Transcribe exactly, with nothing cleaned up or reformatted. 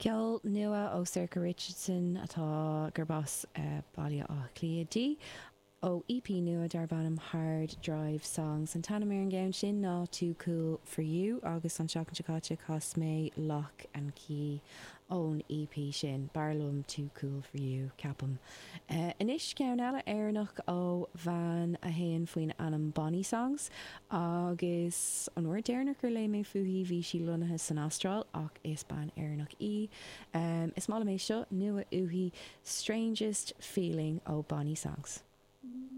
Ceol nua ó Sorcha Richardson atá gurb as uh, Baile Átha Cliath di. ó EP nua darb ainm Hard Drive Songs an t-ainm ar an gceann sin ná Too Cool for You agus an seachtain seo caite chas mé Lock and Key ón EP sin b'fhearr liom Too Cool for You ceapaim. Uh, Anois ceann eile Éireannach ó bhean a théann faoin ainm Bonnie Songs agus an uair dheireanach gur léigh mé fúithi bhí sí lonnaithe san Astráil ach is bean Éireannach í. Um, is maith liom é seo nua uaithi Strangest Feeling ó Bonnie Songs.